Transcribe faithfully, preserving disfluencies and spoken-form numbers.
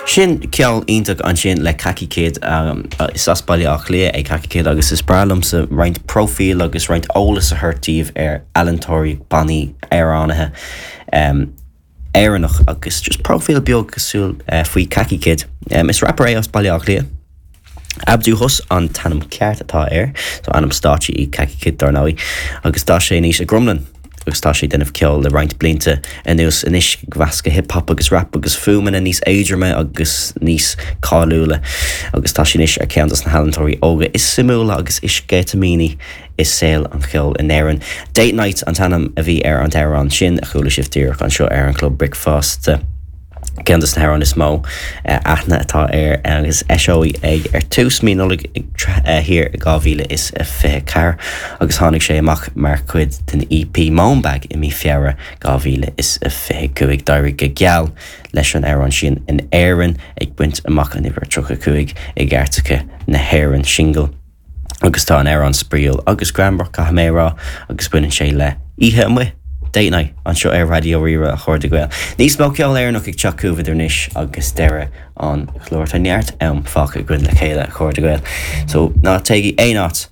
Sin ceol iontach ansin le Khaki Kid um, is as Baile Átha Cliath é Khaki Kid agus is breá liomsa roinnt próifíl agus roinnt eolas a thabhairt daoibh ar ealaíontóirí bannaí amhránaithe um, Éireannach agus just próifíl beag cosúil uh, faoi Khaki Kid. Um, is rapper é as Baile Átha Cliath. Abdu Hus an t-ainm ceart atá air, so ainm stáitse é Khaki Kid dar ndóigh, agus tá sé anois i gCromghlinn. agus tá sé ag déanamh ceol le roinnt blianta anuas anois ag meascadh hip-hop agus rap agus fuaimeanna níos éadroime agus níos cáiliúla agus tá sé anois ar ceann de na healaíontóirí óga is suimiúla agus is sceitimíní i saol an cheoil in Éirinn. Date Night an t-ainm a bhí ar an amhrán sin a chuala sibh díreach anseo ar an Club Bricfeasta. Ceann de na hamhráin is mó aithne atá air agus eisíodh é ar tús mí Nollag thiar dhá mhíle is fiche ceathair agus tháinig sé amach mar chuid den EP Moanbag i mí Feabhra dhá mhíle is fiche cúig d'éirigh go geal leis an amhrán sin in Éirinn ag baint amach an uimhir tríocha cúig i gcairteacha na hÉireann single. Agus tá an amhrán spraíúil agus greannmhar caithfidh mé a rá agus baineann sé le oíche amuigh. Date night anseo ar Raidió Rí-Rá a chairde Gael. Níos mó ceol Éireannach ag teacht chugaibh idir anois agus deireadh an chláir tá neart am fágtha againn le chéile a chairde Gael. So ná téigí aon áit